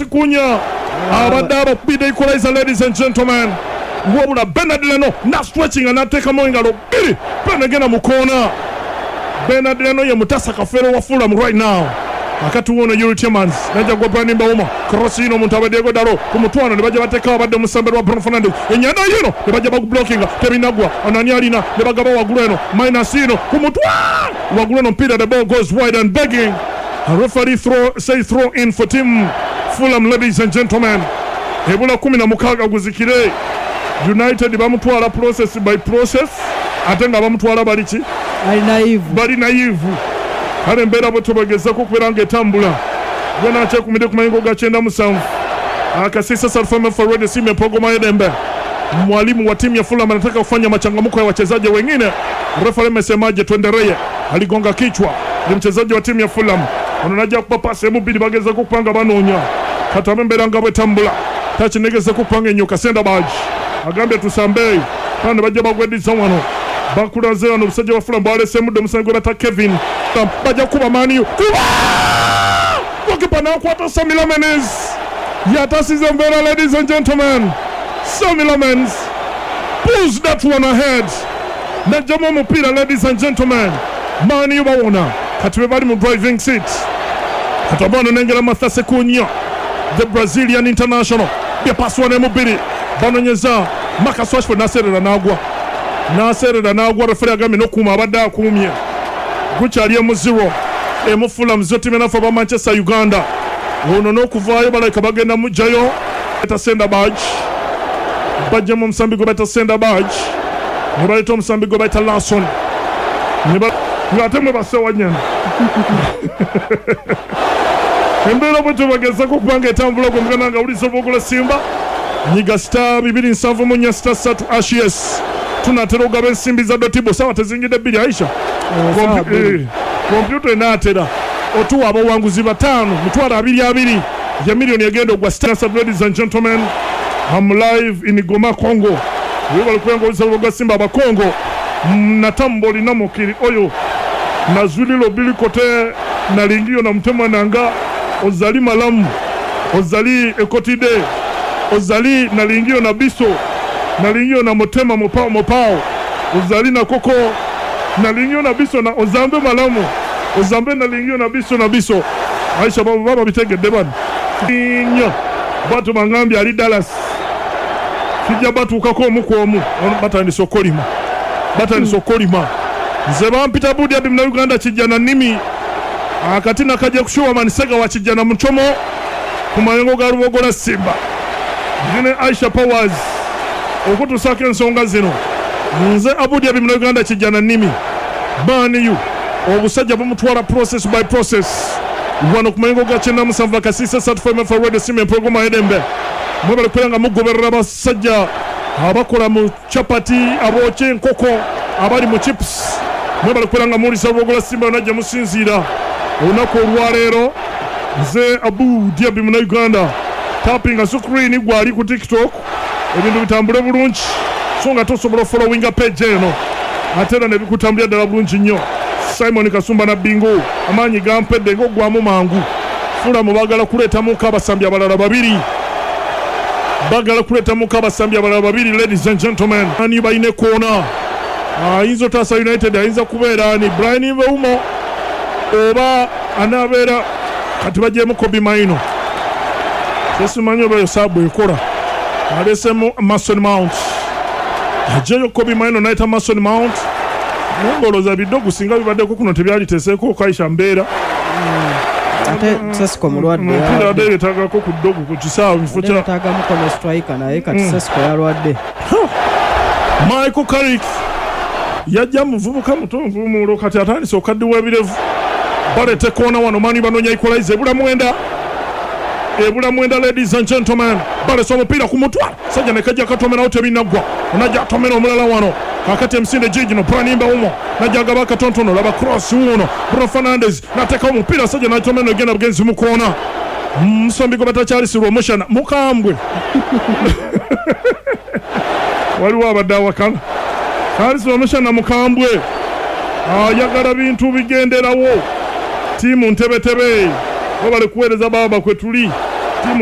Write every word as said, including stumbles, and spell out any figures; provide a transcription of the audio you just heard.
Cunha abadde abakubidde equalizer, ladies and gentlemen. Wabula Bernard Leno nastretchinga n'ateekamu engalo bbiri, penegenda mu koona. Bernard Leno ye mutasa kafeero wa Fulham right now. Akati wono Youri Tielemans najja gwa Bryan Mbeumo, cross ino omuntu abadde Diego Dalot ku mutwano ne bajja bateekawo abadde omusambe lwa Bruno Fernandes, enyanda yino ne bajja bagublockinga, tebinagwa. Onani alina ne bagaba waggulu eno, minus ino ku mutwano waggulu eno mpira, the ball goes wide and begging a referee throw, say throw in for team Fulham, ladies and gentlemen. Ebula kumi na mukaaga guzikire. United bamutwala process by process, ate nga bamutwala bali ki? Ali naive. Bali naive. Kale embeera bwe tubagezako okubeera ng'etambula gwenakyekumidde ku mayingo ga kyenda musanvu akasisa Salfama Radio simu empogoma y'eddembe. Mwalimu wa timu ya Fulham anataka kufanya machangamko ya wachezaji wengine. Refa amesemaje? Tuendelee. Aligonga kichwa, ni mchezaji wa timu ya Fulham. Ono najja kuba pasi emu bbiri, bagezako okupanga banoonya katabe embeera nga bwetambula takinegeza kupanga enyoka. Sander Berge agambye tusambe kandi bajja bagweddiza wano, bakulaze wano obusajja bwa Fulham bwalesemudde omusango gwe bata Kevin, bajja kuba Man U kuba gokipa nakwata. Senne Lammens yatasiza embeera, ladies and gentlemen. Senne Lammens pulls that one ahead, najjamu omupiira, ladies and gentlemen. Man U bawona, kati be bali mu driving seat. Kati abano nengera Matheus Cunha, the Brazilian international, byapaswa ne mubiri banonyeza Marcus Rashford, naserera nagwa, naserera nagwa. Referee agambye n'okuuma abadde akuumye. Gukyali emu zero emu Fulham zero timu enafu aba Manchester Uganda. Ono n'okuvaayo balabika bagenda mugjayo eta Sander Berge, bajjamu omusambi gwe bayita Sander Berge ne baleeta omusambi gwe bayita Larsson ng'ate mwe basewanyana. Embeera bwe tubagezako okubanga etambula gwe muganda nga wulisa obwogola Simba nyiga star bibiri nsanvu mu nnya star ssatu hash. Tunatera okugaba ensimbi za Dotibo, sawa tezingidde bbiri, Aisha. Kompyuta enaatera otuwa abawanguzi bataano mitwalo abiri abiri ya miliyoni egenda ogwa star. Ladies and gentlemen, I'm live in Goma, Congo. Webale kubenga olisa gwa Simba abakongo natamboli na mokili oyo nazwili lobili kote nalingio na mtema nanga ozali malamu ozali ekotide ozali nalingio na biso nalingio na motema mopao mopao ozali na koko nalingio na biso na ozambe malamu ozambe nalingio na biso na biso. Aisha, baba baba bitegedde bano nnyo batu bangambye ali Dallas kijja batuukako omu ku omu. Batandise okolima, batandise okolima. Nze bampita Budi Abi muna Uganda kijja na nnimi akati nakajja kushuwa manisega wa kijja na muchomo ku mayengo ga Lubogola Simba ndine Aisha Powers okutusaako ensonga zino. Nze Abudi Abi muna Uganda kijja na nnimi. Man U obusajja bumutwala process by process wano ku mayengo ga kyenda musanvu akasisa satu for Radio Simba empogoma edembe. Mwebale kubeera nga mugoberera abasajja abakola mu chapati, abookya enkoko, abali mu chips. Mwebale kubeera nga muwuliriza Lubogola Simba yonna gye musinziira olunaku olwaleero. Nze Abu Diabi muna Uganda, tapinga screen gwali ku TikTok ebintu bitambule bulungi, so nga tosobola followinga page eno ate era ne bikutambulira ddala bulungi nnyo. Simon Kasumba na Bingo amaanyi gampedde ng'oggwamu mangu. Fulham baagala kuleetamuko abasambi abalala babiri, bagala kuleetamuko abasambi abalala babiri, ladies and gentlemen. Ani balina ekoona ayinza otaasa United? Ayinza kubeera ni Bryan Mbeumo oba anaabeera kati bagyemu Kobbie Mainoo. Kyesimanyi oba eyo sub ekola. Alesemu Mason Mount, ajeyo Kobbie Mainoo nayita Mason Mount. Naye ng'olowooza biddogu singa bibaddeko kuno tebyaliteeseeko Kaisha mbeera. Ate Sesko mulwadde. Omupiira adde yeetaagako ku ddogu ku kisaawe mu kifo kya yeetaagamuko ne striker, naye kati Sesko yalwadde. Michael Carrick yajja muvubuka muto nvumuulo, kati atandise okaddiwa ebirevu. Baleeta ekoona wano, Man U banoonya equalizer, ebula mwenda, ebula mwenda, ladies and gentlemen. Balesa omupiira ku mutwe sajja ne kajja katomerawo, tebinaggwa. Onajja atomera omulala wano kakati emisinde gigino Bryan Mbeumo najja agaba akatontono, laba cross wuuno Bruno Fernandes nateekawo omupiira sajja natomera egenda bugenzi mu koona. Musombi gwe batakyalisirwa omushana mukambwe, waliwo abadde awakana kyalisirwa omushana mukambwe, ayagala bintu bigenderawo. Tiimu ntebetebe webale kuweereza baaba kwe tuli tiimu.